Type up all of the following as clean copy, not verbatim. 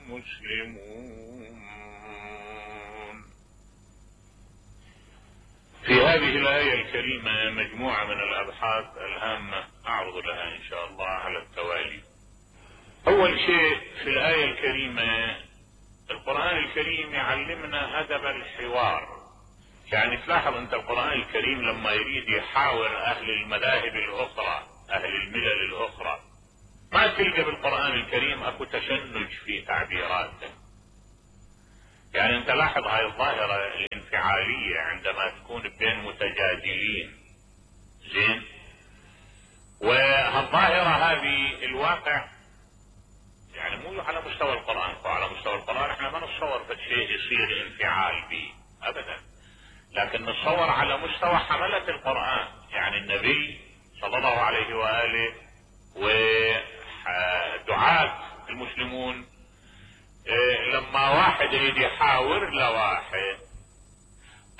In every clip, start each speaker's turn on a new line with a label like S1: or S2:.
S1: مسلمون. في هذه الآية الكريمة مجموعة من الأبحاث الهامة أعرض لها إن شاء الله على التوالي. أول شيء في الآية الكريمة القرآن الكريم يعلمنا أدب الحوار. يعني تلاحظ أنت القرآن الكريم لما يريد يحاور أهل المذاهب الأخرى أهل الملل الأخرى ما تلقى بالقرآن الكريم أكو تشنج في تعبيراته. يعني أنت لاحظ هاي الظاهرة الانفعالية عندما تكون بين متجادلين زين، وهالظاهرة هذه الواقع يعني مو على مستوى القرآن. على مستوى القرآن احنا ما نتصور فشيء يصير انفعال به ابدا، لكن نتصور على مستوى حملة القرآن. يعني النبي صلى الله عليه وآله ودعاة المسلمون لما واحد يريد يحاور لواحد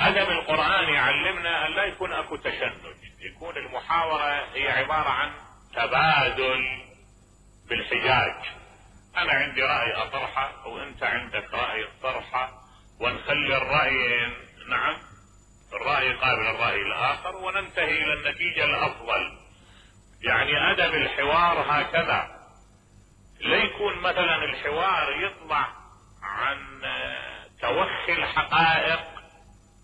S1: ادب القرآن يعلمنا ان لا يكون اكو تشنج، يكون المحاورة هي عبارة عن تبادل بالحجاج. انا عندي رأي اطرحه وانت عندك رأي اطرحه ونخلي الرأيين نعم الرأي قابل الرأي الاخر وننتهي الى النتيجة الافضل. يعني ادب الحوار هكذا، لا يكون مثلا الحوار يطلع عن توخي الحقائق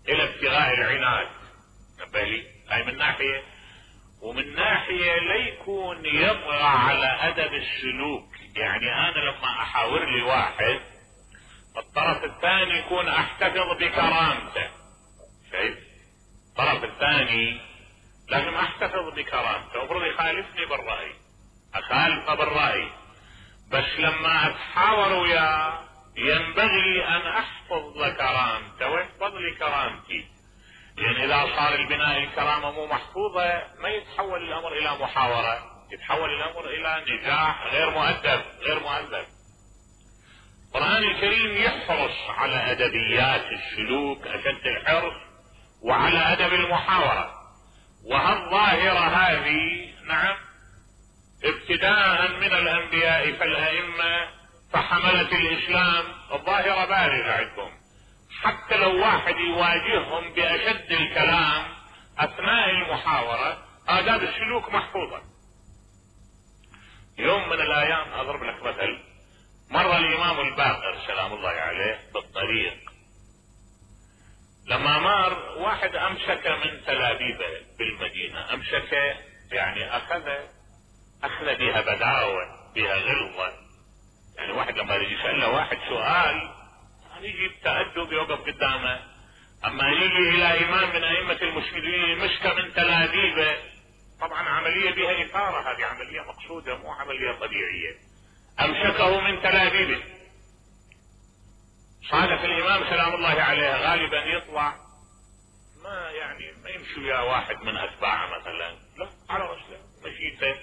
S1: الى ابتغاء العناد. نبهلي هاي من ناحية، ومن ناحية لا يكون يطغى على ادب السلوك. يعني انا لما احاور لي واحد الطرف الثاني يكون احتفظ بكرامته. شايف الطرف الثاني لازم احتفظ بكرامته، المفروض يخالفني بالرأي اخالفه بالرأي، بس لما اتحاور وياه ينبغي ان احفظ كرامته ويحفظ لي كرامتي. يعني اذا صار البناء الكرامة مو محفوظة ما يتحول الامر الى محاورة، يتحول الامر الى نزاع غير مؤدب غير مؤدب. القرآن الكريم يحرص على ادبيات السلوك اشد الحرص وعلى ادب المحاورة. وهالظاهرة هذه نعم ابتداء من الانبياء فالائمة فحملة الاسلام الظاهرة بارزة عندهم. حتى لو واحد يواجههم باشد الكلام اثناء المحاورة آداب السلوك محفوظة. يوم من الايام اضرب لك مثل، مر الامام الباقر سلام الله عليه بالطريق، لما مر واحد امسك من تلابيبه بالمدينة، امسك يعني اخذ بها بداوة بها غلظة. يعني واحد لما يجي يسأله واحد سؤال يجي بتأدب يوقف قدامه، اما يجي الى امام من ائمة المسلمين مسك من تلابيبه طبعا عملية بها اثارة، هذه عملية مقصودة مو عملية طبيعية. امسكه من تلابيبه، صادف الامام سلام الله عليه غالبا يطلع ما يمشي ويا واحد من اتباعه مثلا، لا على رسله مشيته.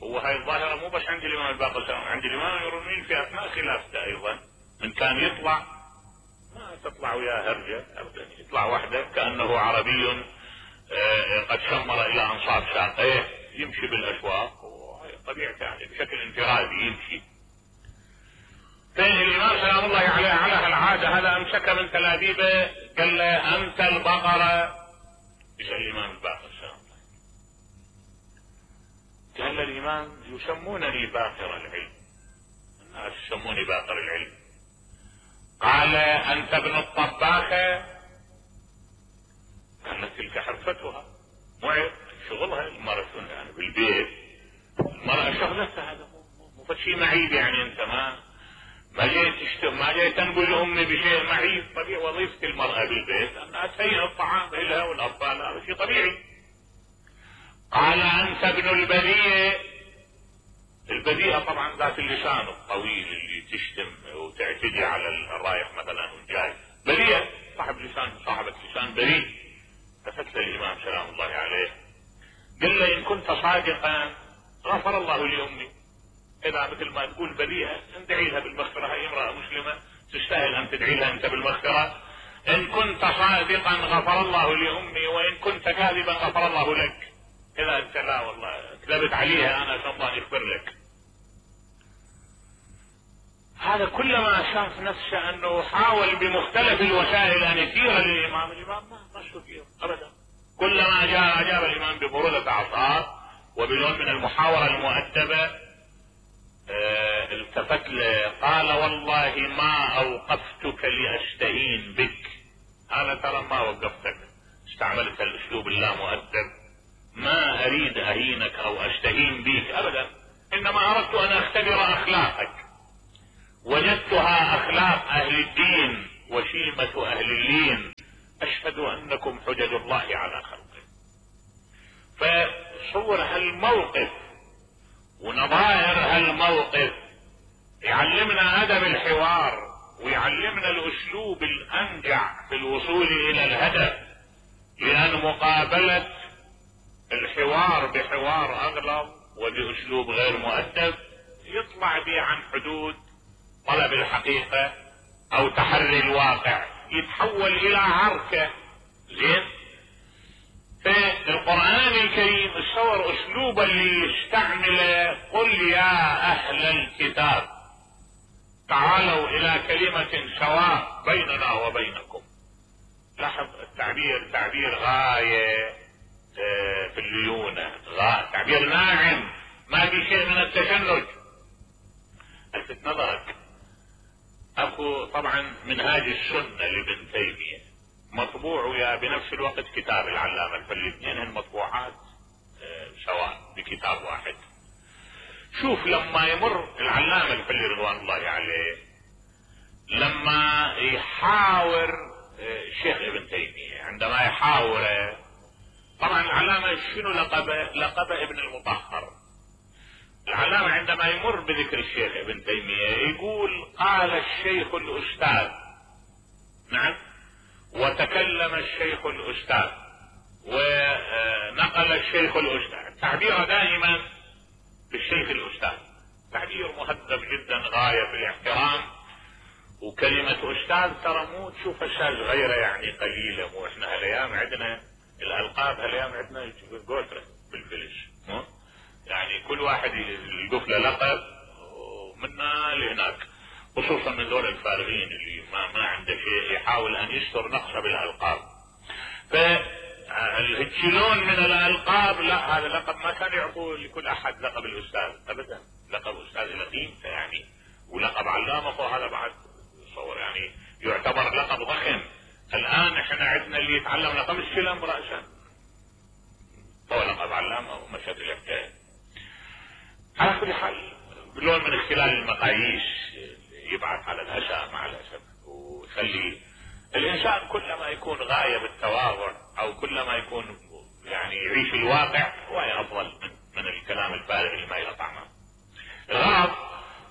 S1: هو هاي الظاهرة مو بس عند الامام الباقر، عند الامام يرمين في اثناء خلافته ايضا. من كان يطلع ما تطلع وياه هرجة ابدا، يطلع وحده كأنه عربي قد شمر الى انصاب ساقيه يمشي بالاسواق وهي طبيعته يعني بشكل انفرادي يمشي. الامام سلام الله عليه على هالعادة هذا امسك من تلابيبه قال له انت البقرة. يسأل الامام الباقر سلام الله، قال الامام يسمونني باقر العلم، الناس يسموني باقر العلم. قال انت ابن الطباخة؟ كانت تلك حرفتها معب شغلها المرأة يعني بالبيت، المرأة شغلتها، هذا مو شيء معيب. يعني انت ما جاي تنقل امي بشيء معيب. طبيعي وظيفة المرأة بالبيت انها تهيئ الطعام لها والاطفال، هذا شيء طبيعي. قال انت ابن البذيء؟ البذيئة طبعا ذات اللسان الطويل اللي تشتم وتعتدي على الرايح مثلا والجاي، بذيئة صاحب لسان، صاحبة لسان بذيء. التفت الامام سلام الله عليه قال له ان كنت صادقا غفر الله لامي. اذا مثل ما تقول بذيئة ندعي لها بالمغفرة، هي امرأة مسلمة تستاهل ان تدعي لها انت بالمغفرة. ان كنت صادقا غفر الله لامي وان كنت كاذبا غفر الله لك. اذا انت لا والله كذبت عليها انا الله يغفر لك. هذا كلما شاف نفسه انه حاول بمختلف الوسائل ان يثير الامام ما استثير ابدا. كلما اجاب الامام ببرودة اعصاب وبنوع من المحاورة المؤدبة التفت له قال والله ما اوقفتك لاشتهين بك. انا ترى ما وقفتك، استعملت الاسلوب اللامؤدب، ما اريد اهينك او اشتهين بك ابدا، انما اردت ان اختبر اخلاقك. وجدتها اخلاق اهل الدين وشيمة اهل اللين، اشهد انكم حجج الله على خلقه. فصور هالموقف ونظائر هالموقف يعلمنا ادب الحوار ويعلمنا الاسلوب الانجع في الوصول الى الهدف، لان مقابلة الحوار بحوار اغلظ وباسلوب غير مؤدب يطلع به عن حدود طلب الحقيقة او تحري الواقع، يتحول الى عركة. زين، في القرآن الكريم تصور اسلوب اللي يستعمله قل يا اهل الكتاب تعالوا الى كلمة سواء بيننا وبينكم. لاحظ التعبير تعبير غاية في الليونة، تعبير ناعم ما في شيء من التشنج. الفت نظرك اكو طبعا منهاج السنة لابن تيمية مطبوع ويا بنفس الوقت كتاب العلامة الفلي، اثنين المطبوعات سواء بكتاب واحد. شوف لما يمر العلامة الفلي رضوان الله عليه لما يحاور الشيخ ابن تيمية، عندما يحاوره طبعا العلامة شنو لقبه ابن المطهر. العلامة عندما يمر بذكر الشيخ ابن تيمية يقول قال الشيخ الاستاذ، نعم، وتكلم الشيخ الاستاذ ونقل الشيخ الاستاذ. تعبيره دائما بالشيخ الاستاذ تعبير مهذب جدا غاية في الاحترام. وكلمة استاذ ترى مو تشوف استاذ غيره يعني قليلة، مو احنا هالايام عندنا الالقاب، هالايام عندنا قولترة بالفلش، يعني كل واحد يلقف له لقب ومنا لهناك، خصوصا من ذول الفارغين اللي ما عنده شيء يحاول ان يستر نقصه بالالقاب. فالهجلون من الالقاب لا، هذا لقب ما كان يعطوه لكل احد لقب الاستاذ ابدا، لقب استاذ لقيمته يعني، ولقب علامه وهذا بعد صور يعني يعتبر لقب ضخم. الان احنا عندنا اللي يتعلم لقب السلم راسا هو لقب علامه ومشت الحكايه. على كل حال بلون من اختلال المقاييس يبعث على الاسى مع الاسف، ويخلي الانسان كلما يكون غاية بالتواضع او كلما يكون يعني يعيش الواقع هو افضل من الكلام الفارغ اللي ما له طعمه. الغرض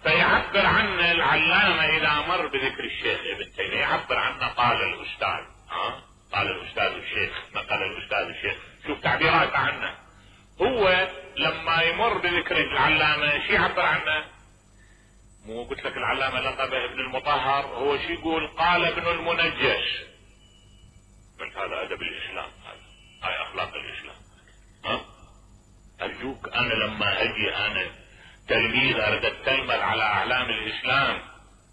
S1: فيعبر عن العلامة اذا مر بذكر الشيخ ابن تيمية يعبر عنه قال الاستاذ، قال الاستاذ الشيخ، نقل الاستاذ الشيخ. شوف تعبيراته عنه. هو لما يمر بذكر العلامة شي يعبر عنه؟ مو قلت لك العلامة لقبه ابن المطهر، هو شي يقول قال ابن المنجش. قلت هذا ادب الاسلام، هاي اخلاق الاسلام. ارجوك انا لما اجي انا تلميذ اريد اتلمذ على اعلام الاسلام،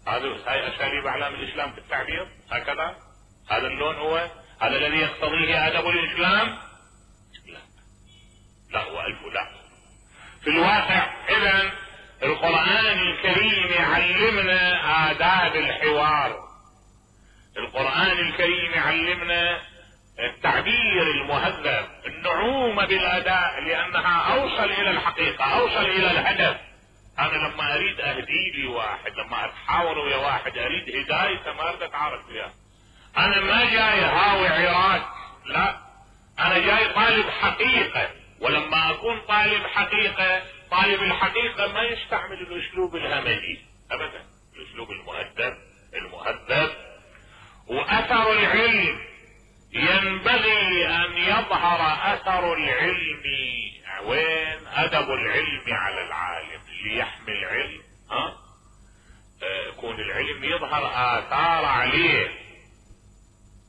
S1: هاي اساليب اعلام الاسلام في التعبير هكذا؟ هذا اللون هو هذا الذي يقتضيه ادب الاسلام؟ لا والف لا. في الواقع اذا القرآن الكريم يعلمنا آداب الحوار، القرآن الكريم يعلمنا التعبير المهذب، النعومة بالأداء، لأنها أوصل إلى الحقيقة، أوصل إلى الهدف. أنا لما أريد أهدي لي واحد، لما أتحاور ويا واحد أريد هدايته، ما أريد أتعارك وياه. أنا ما جاي هاوي عراك، لا، أنا جاي طالب حقيقة. ولما أكون طالب حقيقة، طالب الحقيقة ما يستعمل الاسلوب الهمجي ابدا، الاسلوب المهذب. واثر العلم ينبغي ان يظهر اثر العلم. وين ادب العلم على العالم اللي يحمل العلم؟ يكون العلم يظهر اثار عليه.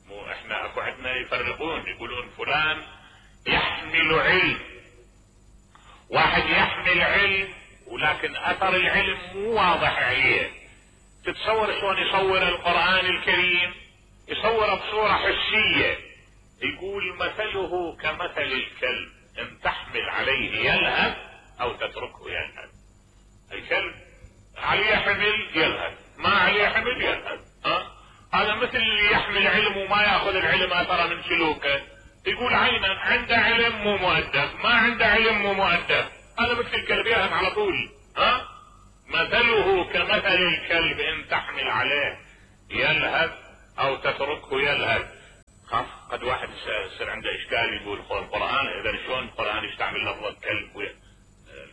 S1: مو احنا اكو عندنا يفرقون يقولون فلان يحمل علم، واحد يحمل علم ولكن اثر العلم مو واضح عليه، تتصور شلون يصور القرآن الكريم؟ يصور بصورة حسية، يقول مثله كمثل الكلب ان تحمل عليه يلهث او تتركه يلهث. الكلب عليه حمل يلهث، ما عليه حمل يلهث. هذا مثل اللي يحمل علم وما ياخذ العلم اثر من سلوكه. يقول عينا عنده علم مو مؤدب، ما عنده علم مو مؤدب. هذا مثل الكلب يلهث على طول. مثله كمثل الكلب ان تحمل عليه يلهث او تتركه يلهث. قد واحد يصير عنده اشكال يقول القرآن اذا شلون القرآن يستعمل لفظة كلب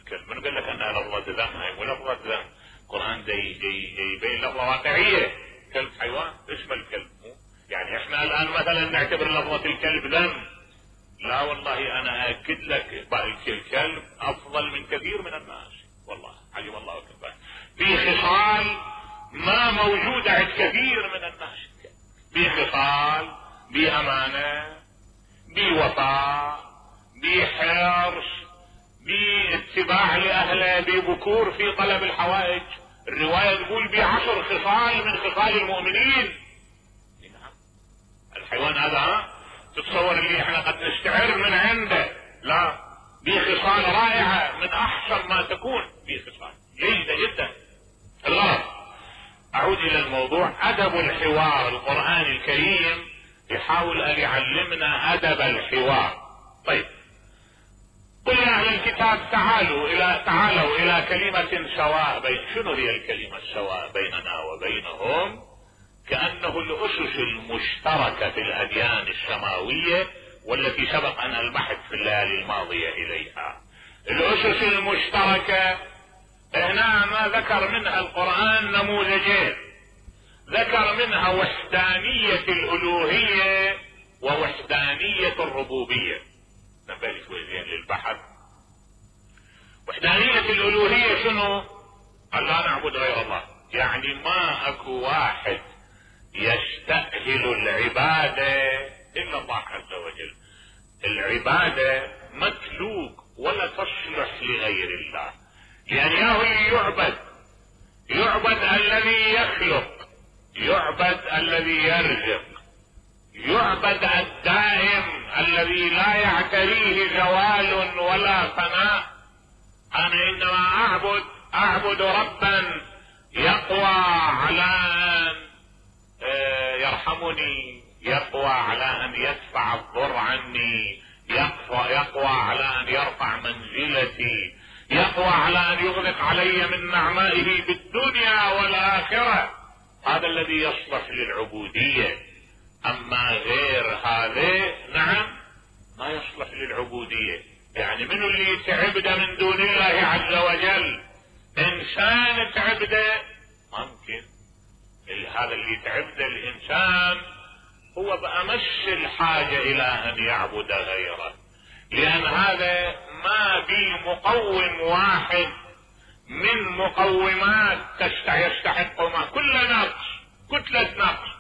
S1: الكلب من قال لك انها لفظة ذم؟ هي مو لفظة ذم. القرآن يبين لفظة واقعية. كلب حيوان، اسم الكلب. يعني احنا الان مثلا نعتبر لفظة الكلب ذم. لا والله انا اكد لك الكلب افضل من كثير من الناس. والله علم الله اكبر. في خصال ما موجودة عند كثير من الناس. بخصال، بأمانة، بوفاء، بحرص، باتباع لأهله، ببكور في طلب الحوائج. الرواية تقول ب10 خصال من خصال المؤمنين. الحيوان هذا تتصور اللي احنا قد نستعر من عنده. لا، بخصال رائعة من احسن ما تكون، بخصال جيدة جدا. الغرض اعود الى الموضوع، ادب الحوار. القرآن الكريم يحاول ان يعلمنا ادب الحوار. طيب، قل يا اهل الكتاب تعالوا الى كلمة سواء شنو هي الكلمة السواء بيننا وبينهم؟ كأنه الاسس المشتركة في الاديان السماوية والتي سبق ان البحث في الليالي الماضية اليها. الاسس المشتركة هنا ما ذكر منها القرآن نموذجين. ذكر منها وحدانية الالوهية ووحدانية الربوبية. نبالي شوي زين للبحث. وحدانية الالوهية شنو؟ قال لا نعبد غير الله. يعني ما اكو واحد يستأهل العبادة الا الله عز وجل. العبادة متلوك ولا تصلح لغير الله. يعني ياهو يعبد الذي يخلق، يعبد الذي يرزق، يعبد الدائم الذي لا يعتريه زوال ولا فناء. انا انما اعبد ربا يقوى على ان يرحمني، يقوى على ان يدفع الضر عني، يقوى على ان يرفع منزلتي، يقوى على ان يغلق علي من نعمائه بالدنيا والاخرة. هذا الذي يصلح للعبودية. اما غير هذا نعم ما يصلح للعبودية. يعني منو اللي تعبده من دون الله عز وجل؟ انسان تعبده ممكن. هذا اللي تعبده الانسان هو بأمس الحاجة الى ان يعبد غيره، لان هذا ما بي مقوم واحد من مقومات يستحق ما كل نقص، كتلة نقص.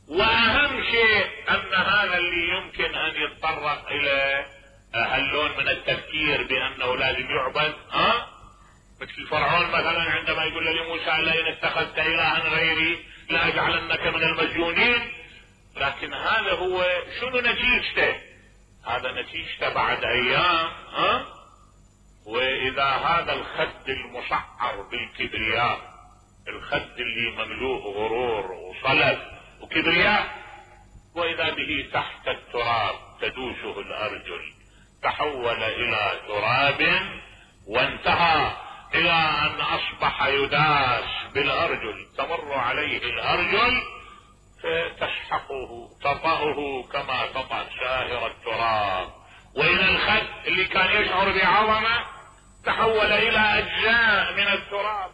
S1: واهم شيء ان هذا اللي يمكن ان يتطرق الى هاللون من التفكير بانه لازم يعبد. مثل فرعون مثلا عندما يقول لموسى لئن اتخذت الها غيري لاجعلنك من المسجونين. لكن هذا هو شنو نتيجته؟ هذا نتيجته بعد ايام. واذا هذا الخد المسعر بالكبرياء، الخد اللي مملوء غرور وصلب وكبرياء، واذا به تحت التراب تدوسه الارجل، تحول الى تراب وانتهى الى ان اصبح يداس بالارجل، تمر عليه الارجل تسحقه تطأه كما تطأ سائر التراب. والى الخد اللي كان يشعر بعظمة تحول الى اجزاء من التراب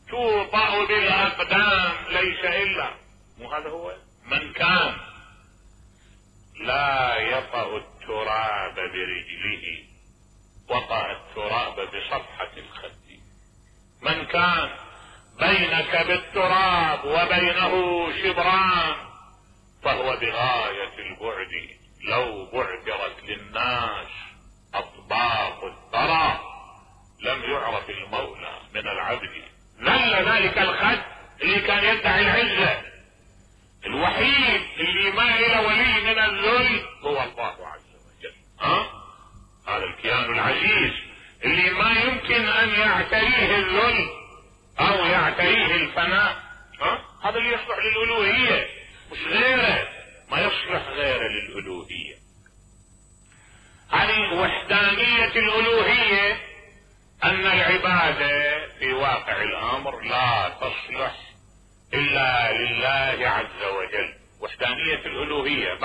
S1: توطأ بالاقدام ليس الا. مو هذا هو من كان لا يطأ التراب برجله وطأ التراب بصفحة الخد. من كان بينك بالتراب وبينه شبران فهو بغاية البعد. لو بعثرت للناس اطباق الثرى لم يعرف المولى من العبد. ذل ذلك الخد اللي كان يدعي العزة. الوحيد اللي ما له ولي من الذل هو الله عز وجل. هذا الكيان العزيز اللي ما يمكن ان يعتريه الذل او يعتريه الفناء. هذا اللي يصلح للالوهية، مش غيره، ما يصلح غيره للالوهية. يعني وحدانية الالوهية ان العبادة في واقع الامر لا تصلح الا لله عز وجل. وحدانية الالوهية